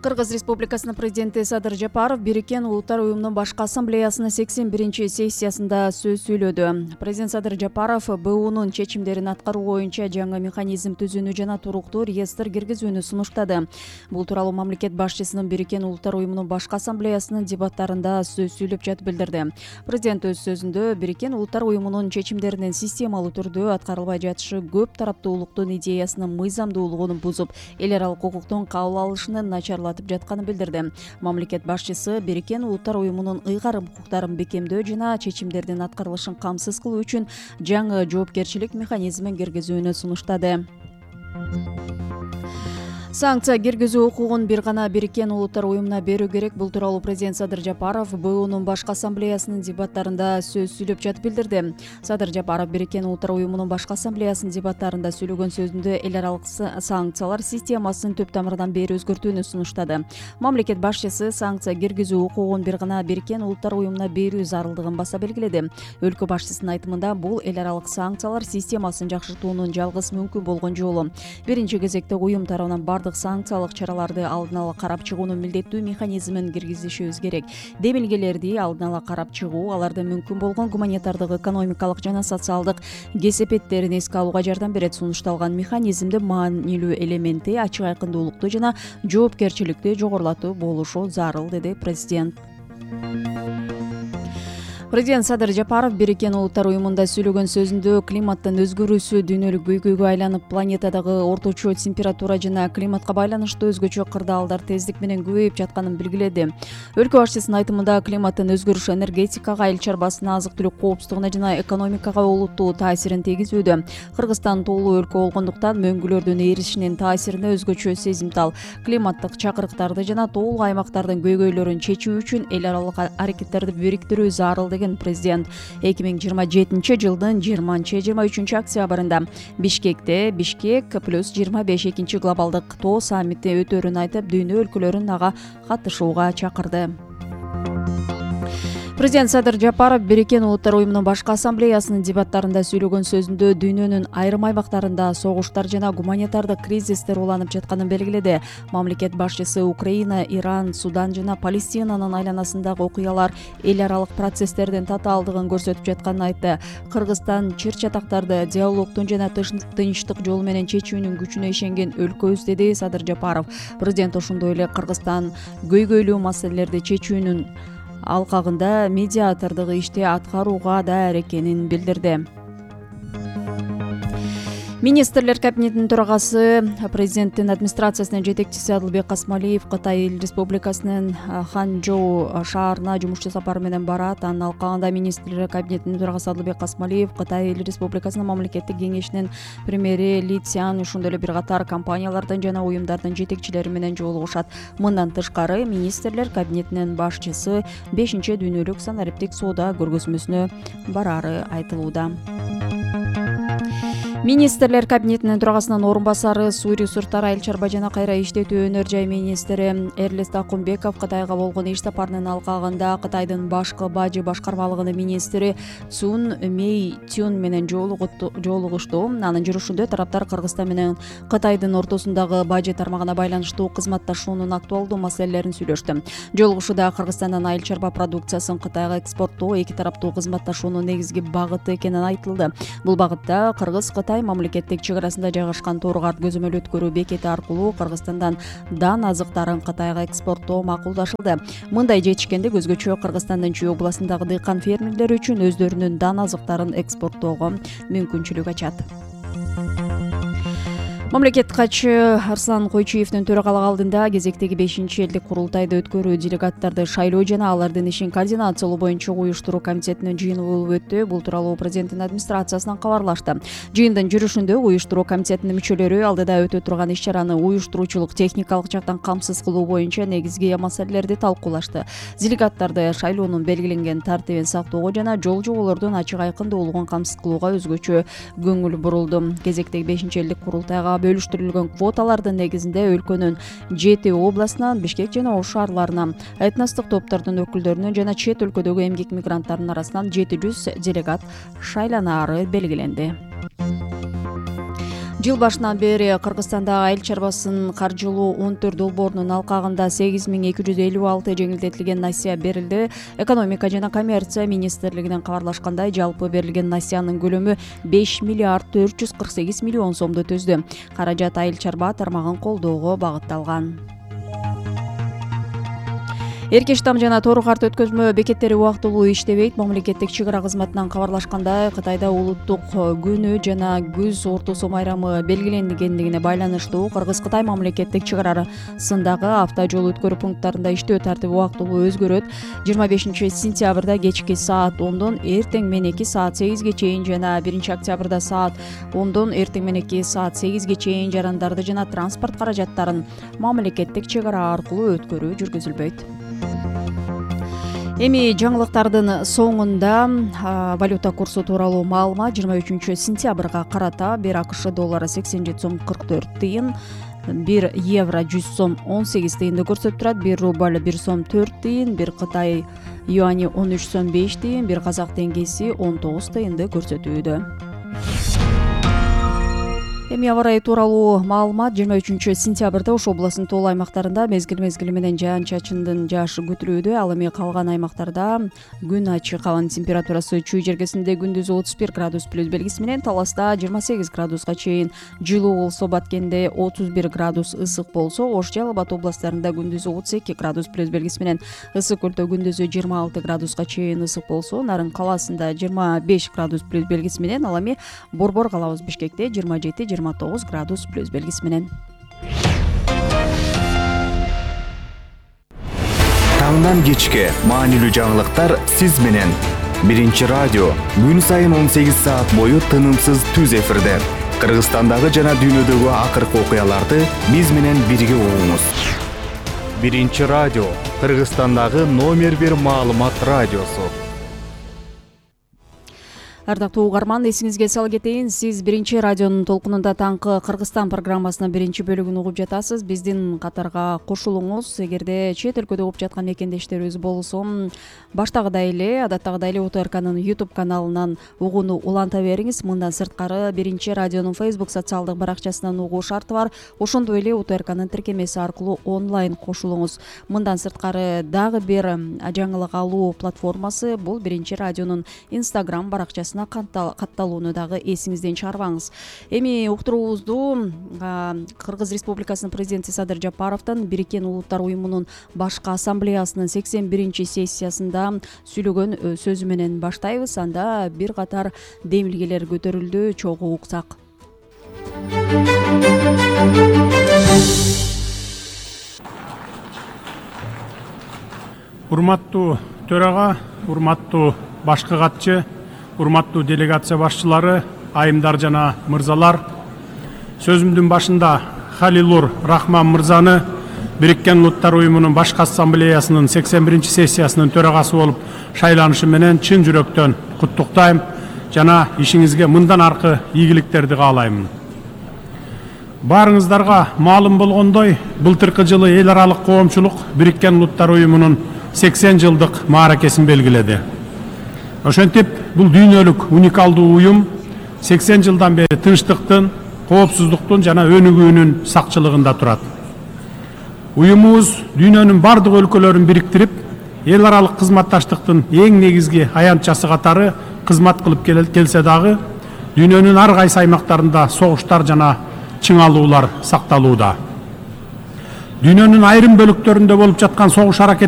Кыргыз Республикасынын президенти Садыр Жапаров Бириккен Улуттар уюмунун башкы ассамблеясынын 81-сессиясында сөз сүйлөдү. Президент Садыр Жапаров БУнун чечимдерин аткаруу боюнча жаңы механизм түзүүнү жана туруктуу реестр киргизүүнү сунуштады. Бул тууралуу мамлекет башчысынын Бириккен Улуттар уюмунун башкы ассамблеясынын дебаттарында сөз сүйлөп жатып билдирди. Президент өз сөзүндө Бириккен Улуттар уюмунун чечимдеринин системалуу түрдө аткарылбай жатышы көп тараптуулуктун идеясынын мыйзамдуулугун бузуп, эл аралык укуктун кабыл алышынын начарлатып жатканын билдирди. Мамлекет башчысы Бириккен Улуттар уюмунун ыйгарым укуктарын бекемдөө жана чечимдердин аткарылышын камсыз кылуу үчүн жаңы жоопкерчилик механизмин киргизүүнү сунуштады. Санкция киргизүү укугун бир гана Бириккен Улуттар уюмуна берүү керек. Бул тууралуу президент Садыр Жапаров БУнун башкы ассамблеясынын дебаттарында сөз сүйлөп жатып билдирди. Садыр Жапаров Бириккен Улуттар уюмунун башкы ассамблеясынын дебаттарында сүйлөгөн сөзүндө эл аралык санкциялар системасын түп тамырынан бери өзгөртүүнү сунуштады. Мамлекет башчысы санкция киргизүү укугун бир гана Бириккен Улуттар уюмуна берүү зарылдыгын баса белгиледи. Өлкө башчысынын айтымында бул эл аралык санкциялар системасын жакшыртуунун жалгыз мүмкүн болгон жолу. Биринчи кезекте уюм тарабынан бардык санкциялык чараларды алдын ала карап чыгуунун милдеттүү механизмин киргизишибиз керек. Демилгелерди алдын ала карап чыгуу, алардын мүмкүн болгон гуманитардык, экономикалык жана социалдык кесепеттерин эске алууга жардам берет. Сунушталган механизмдин маанилүү элементи ачык айкындуулукту жана жоопкерчиликти жогорулатуу болушу зарыл, деди президент. Президент Садыр Жапаров Бириккен Улуттар уюмунда сүйлөгөн сөзүндө климаттын өзгөрүүсү дүйнөлүк көйгөйгө айланып, планетадагы орточо температура жана климатка байланыштуу өзгөчө кырдаалдар тездик менен көбөйүп жатканын белгиледи. Өлкө башчысынын айтымында климаттын өзгөрүшү энергетикага, эл чарбасына, азык-түлүк коопсуздугуна жана экономикага олуттуу таасирин тийгизүүдө. Кыргызстан тоолуу өлкө болгондуктан мөңгүлөрдүн эришинин таасирине өзгөчө сезимтал. Климаттык чакырыктарды жана тоолуу аймактардын көйгөйлөрүн чечүү үчүн эл аралык аракеттерди бириктирүү зарыл, деген президент 2027 жылдын 20-23 октябрында Бишкекте Бишкек плюс 25 глобалдык тоо саммити өтөөрүн айтып, дүйнө өлкөлөрүн ага катышууга чакырды. Президент Садыр Жапаров Бириккен Улуттар уюмунун башкы ассамблеясынын дебаттарында сүйлөгөн сөзүндө дүйнөнүн айрым аймактарында согуштар жана гуманитардык кризистер уланып жатканын белгиледи. Мамлекет башчысы Украина, Иран, Судан жана Палестинанын айланасындагы окуялар эл аралык процесстердин татаалдыгын көрсөтүп жатканын айтты. Кыргызстан чыр-чатактарды диалогдун жана тынчтык жолу менен чечүүнүн күчүнө ишенген өлкөбүз, деди Садыр Жапаров. Президент ошондой эле Кыргызстан көйгөйлүү маселелерди чечүүнүн алкагында медиатордук ишти аткарууга даяр экенин билдирди. Министрлер кабинетинин төрагасы, президенттин администрациясынын жетекчиси Адылбек Касмалиев Кытай Эл Республикасынын Ханчжоу шаарына жумушчу сапары менен барат. Анын алкагында министрлер кабинетинин төрагасы Адылбек Касмалиев Кытай Эл Республикасынын мамлекеттик кеңешинин премьери Ли Цзян, ошондой эле бир катар компаниялардын жана уюмдардын жетекчилери менен жолугушат. Мындан тышкары, министрлер кабинетинин башчысы 5-дүйнөлүк санариптик соода көргөзмөсүнө барары айтылууда. Министрлер кабинетинин төрагасынын орун басары, суу ресурстары, айыл чарба жана кайра иштетүү өнөр жай министри Эрлест Акунбеков Кытайга болгон иш сапарынын алкагында Кытайдын башкы бажы башкармалыгынын министри Цун Мэйтюн менен жолугушту. Анын жүрүшүндө тараптар Кыргызстан менен Кытайдын ортосундагы бажы тармагына байланыштуу кызматташуунун актуалдуу маселелерин сүйлөштү. Жолугушууда Кыргызстандын айыл чарба продукциясын Кытайга экспорттоо эки тараптуу кызматташуунун негизги багыты экени айтылды. Бул багытта Кыргыз-Кытай мамлекеттик чек арасында жайгашкан Тору-Карт көзөмөл өткөрүү бекети аркылуу Кыргызстандан дан азыктарын Кытайга экспорттоо макулдашылды. Мындай жетишкендик өзгөчө Кыргызстандын Чүй областындагы дыйкан фермерлери үчүн өздөрүнүн дан азыктарын экспорттоого мүмкүнчүлүк ачат. Мамлекет катчы Арслан Койчуевдин төрагалык алдында кезектеги 5-элдик курултайды өткөрүү, делегаттарды шайлоо жана алардын ишин координациялоо боюнча уюштуруу комитетинин жыйыны болуп өттү. Бул тууралуу президенттин администрациясынан кабарлашты. Жыйындын жүрүшүндө уюштуруу комитетинин мүчөлөрү алдыда өтө турган иш-чараны уюштуруучулук, техникалык жактан камсыз кылуу боюнча негизги маселелерди талкуулашты. Делегаттарды шайлоонун белгиленген тартибин сактоого жана жол жоболордун ачык айкындуулугун камсыз кылууга өзгөчө көңүл бурулду. Кезектеги 5-элдик курултайга бөлүштүрүлгөн квоталардын негизинде өлкөнүн 7 областынан Бишкек жана Ош шаарларынан этностук топтордун өкүлдөрүнүн жана чет өлкөдөгү эмгек мигранттарынын арасынан 700 делегат шайланаары белгиленди. Жыл башынан бери Кыргызстанда айыл чарбасын каржылоо 14 долбоорунун алкагында 8256 жеңилдетилген насыя берилди. Экономика жана коммерция министрлигинен кабарлашкандай, жалпы берилген насыянын көлөмү 5 миллиард 448 миллион сомду түздү. Каражат айыл чарба тармагын колдоого багытталган. Эркеш там жана тоор карт өткөзмө бекеттери убактылуу иштебейт. Мамлекеттик чек ара кызматынан кабарлашкандай, Кытайда улуттук күнү жана күз ортосу майрамы белгиленгендигине байланыштуу Кыргыз-Кытай мамлекеттик чек арасындагы автожол өткөрүү пункттарында иштөө тартиби убактылуу өзгөрөт. 25 сентябрда кечки саат 10дон эртең мененки саат 8ге чейин жана 1 октябрда саат 10дон эртең мененки саат 8ге чейин жарандарды жана транспорт каражаттарын мамлекеттик чек ара аркылуу өткөрүү жүргүзүлбөйт. Эми жаңылыктардын соңунда валюта курсу тууралуу маалымат. 23 сентябрга карата 1 АКШ доллары 87 сом 44 тыйын, 1 евро 100 сом 18 тыйынды көрсөтүп турат. 1 рубль 1 сом 4 тыйын, 1 Кытай юани 13 сом 5 тыйын, 1 казак теңгеси 19 тыйынды көрсөтүүдө. Эми аба ырайы тууралуу маалымат. 23 сентябрда Ош областынын тоол аймактарында мезгил менен жаан-чачындын жаашы күтүлүүдө. Ал эми калган аймактарда күн ачык, абанын температурасы чүй жергесинде күндүз 31 градус плюс белгиси менен, Таласта 28 градуска чейин жылуу болсо, Баткенде 31 градус ысык болсо, Ош, Жалал Абад областарында күндүз 32 градус плюс белгиси менен, Ысык Көлдө күндүзү 26 градуска чейин ысык болсо, Нарын калаасында 25 градус плюс белгиси менен, ал эми Борбор калабыз Бишкекте 27-29 градус плюс белгиси менен. Таңдан кечке маанилүү жаңылыктар сиз менен. Биринчи радио күн сайын 18 саат бою тынымсыз түз эфирде. Кыргызстандагы жана дүйнөдөгү акыркы окуяларды биз менен бирге угуңуз. Биринчи радио Кыргызстандагы номер 1 маалымат радиосу. Ардактуу угарман, эсиңизге сала кетейин, сиз Биринчи радионун толкунунда таңкы Кыргызстан программасынын биринчи бөлүгүн угуп жатасыз. Биздин катарга кошулуңуз. Эгерде чет өлкөдө угуп жаткан мекендештерибиз болсо, баштагыдай эле, адаттагыдай эле УТРКнын YouTube каналынан угууну уланта бериңиз. Мындан сырткары Биринчи радионун Facebook социалдык баракчасынан угуу шарты бар. Ошондой эле УТРКнын тиркемеси аркылуу онлайн кошулуңуз. Мындан сырткары дагы бир жаңылык алуу платформасы бул Биринчи радионун Instagram баракчасына катталууну дагы эсиңизден чыгарбаңыз. Эми уктуруубузду Кыргыз Республикасынын президенти Садыр Жапаровдун Бириккен Улуттар уюмунун башкы ассамблеясынын 81 сессиясында сүйлөгөн сөзү менен баштайбыз. Анда бир катар демилгелер көтөрүлдү, чогуу уксак. Урматтуу төрага, урматтуу башкы катчы, урматтуу делегация башчылары, айымдар жана мырзалар, сөзүмдүн башында Халилур Рахман мырзаны Бириккен Улуттар уюмунун башкы ассамблеясынын 81 сессиясынын төрагасы болуп шайланышы менен чын жүрөктөн куттуктайм жана ишиңизге мындан аркы ийгиликтерди каалаймын. Баарыңыздарга маалым болгондой, былтыркы жылы эл аралык коомчулук Бириккен Улуттар уюмунун 80 жылдык мааракесин белгиледи. Ошентип, бул дүйнөлүк уникалдуу уюм 80 жылдан бери тынчтыктын, коопсуздуктун жана өнүгүүнүн сакчылыгында турат. Уюмубуз дүйнөнүн бардык өлкөлөрүн бириктирип, эл аралык кызматташтыктын эң негизги аянтчасы катары кызмат кылып келсе дагы, дүйнөнүн ар кайсы аймактарында согуштар жана чыңалуулар сакталууда. Дүйнөнүн айрым бөлүктөрүндө болуп жаткан согуш аракет